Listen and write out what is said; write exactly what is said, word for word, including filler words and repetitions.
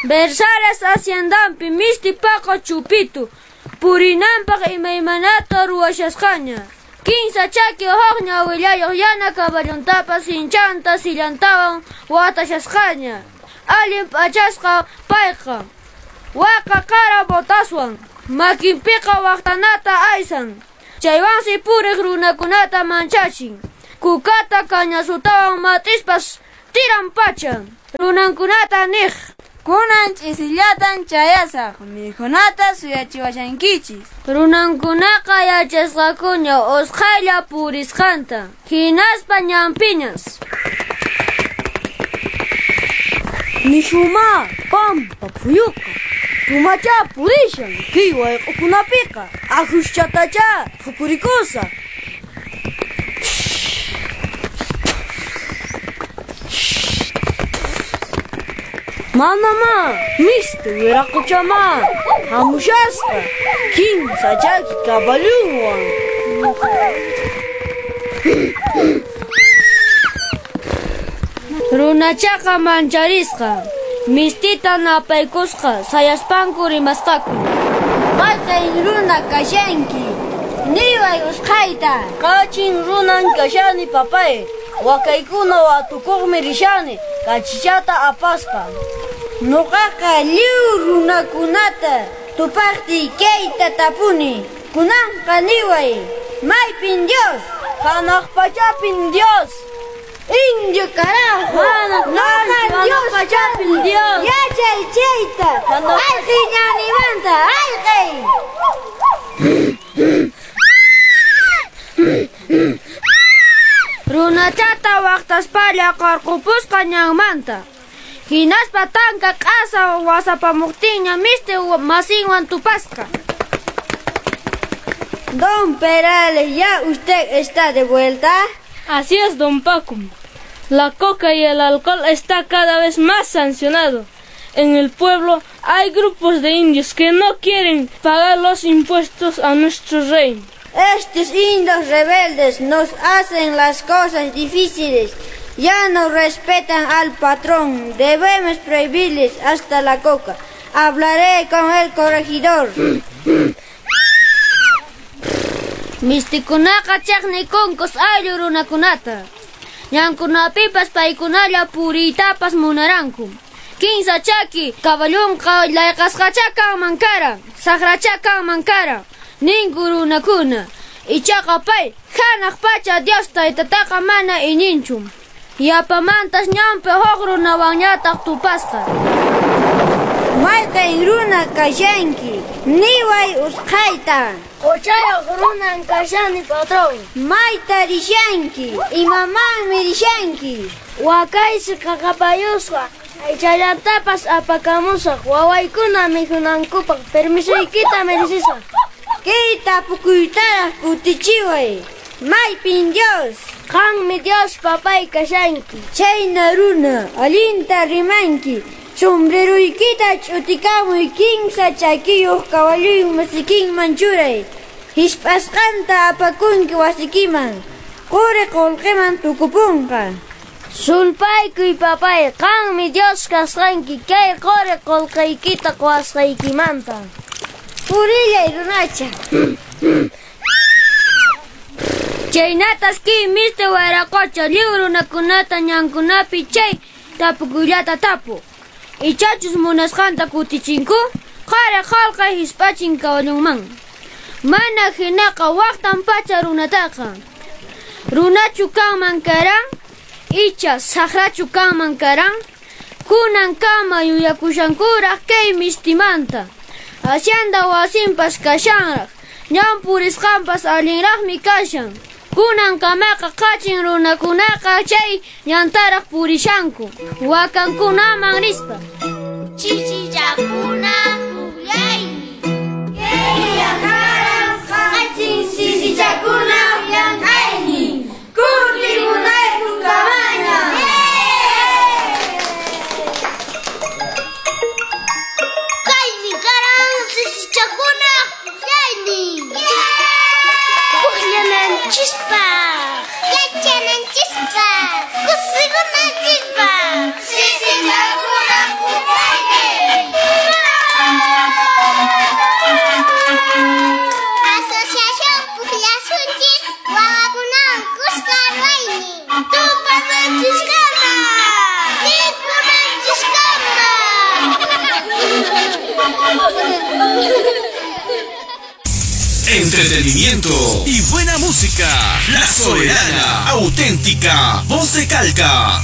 Bersales haciendanpi misti paqa chupitu purinanpaq imaymanata ruwashasqaña. Kinsa chaki huk ñawillayuq yana kaballuntapas sinchanta sillantawan watashasqaña. Allin p'achasqa payqa waqa qara botaswan makinpiqa waqtanata aysan. Chaywansi puriq runakunata manchachin. Kukata kañasutawan mat'ispas tiran pacha. Runankunata niq. Kunan ch'isillatan chayasaq, mikhunata suyachiwashankichis. Runankunaqa yachasqakuña usqhaylla purisqanta. Hinaspa ñanpiñas. Nishuma pampa phuyuqa, pumachá purishan kay wayq'ukunapiqa, ahuschatachá phukurikusaq. Manamá, misti wiraquchamá hamushasqa kinsa chaki kaballunwan. Runachaqa mancharisqa, mistita napaykusqa sayaspanku rimasqaku. Mayqin runa kashanki? Niway usqhayta. Qachin runan kashani papay, wakaykuna watukuqmi rishani kachichata apaspa. Nuqaqa lliw runakunata tupaqtiy kayta tapuni. Kunanqa niway, maypin Dios? Hanaq pachapin Dios. Indio carajo. Nuqa Dios pachapin Dios. Yachay chayta. Ayqi ñanimanta, ayqi. Runachata waqtaspalla qarqupusqa ñanmanta. Hinaspa tanka q'asa wasapamuqtinña misti masinwan tupasqa. Don Perales, ¿ya usted está de vuelta? Así es, don Paco. La coca y el alcohol está cada vez más sancionado. En el pueblo hay grupos de indios que no quieren pagar los impuestos a nuestro rey. Estos indios rebeldes nos hacen las cosas difíciles. Ya no respetan al patrón. Debemos prohibirles hasta la coca. Hablaré con el corregidor. Mistikunaqa chaqnikunkos ayllu runakunata. Ñankunapipas paykunalla puriytapas munaranku. Kinsa chaki kaballunqa layqasqachá kanman karan, saqrachá kanman karan, ninku runakuna. Ichaqa pay hanaq pacha Dios taytataqa mana iñinchu. Yapamantas ñanpi huk runawanñataq tupasqa. Mayqin runa kashanki? Niway usqhayta. Quchayuq runan kashani, patrón. Mayta rishanki? Imamanmi rishanki? Wakaysi qaqapayusqa, aychallantapas apakamusaq wawaykuna mikhunankupaq. Permisoykita merecisaq. Kay tapukuytaraq kutichiway. Maypin Dios? Qanmi Dios papay kashanki. Chayna runa, allinta rimanki. Sombreruykita ch'utikamuy kinsa chakiyuq kawalluywan masikinman churay. Hisp'asqanta apakunki wasikiman. Quri qullqiman tukupunqa. Sulpaykuy papay, qanmi Dios kasqanki kay quri qullqiykita quwasqaykimanta. Purillay runacha. Chaynatas kay misti wiraqucha lliw runakunata ñankunapi chay tapukuyllata tapu. Ichachus munasqanta kutichinku, qari qullqi hisp'achin kawallunman. Mana hinaqa waqtan pacha runataqa. Runachu kanman karan, icha saqrachu kanman karan, kunankama yuyakushankuraq kay mistimanta. Hacienda wasinpas kashanraq, ñan purisqanpas allinraqmi kashan. Kunankamaqa qachin runakunaqa chay ñantaraq purishanku, wakankunaman rispa. Chichichakuna pukllaymi. Kaylla karan qachin sisichakuna llank'aynin. Kutimunayku kamaña. Kaymi karan sisichakuna pukllaynin. Pukllananchispaq, yachananchispaq, kusikunanchispaq. Sisichakuna pukllaynin. Entretenimiento y buena música. La Soberana, auténtica, voz de Calca.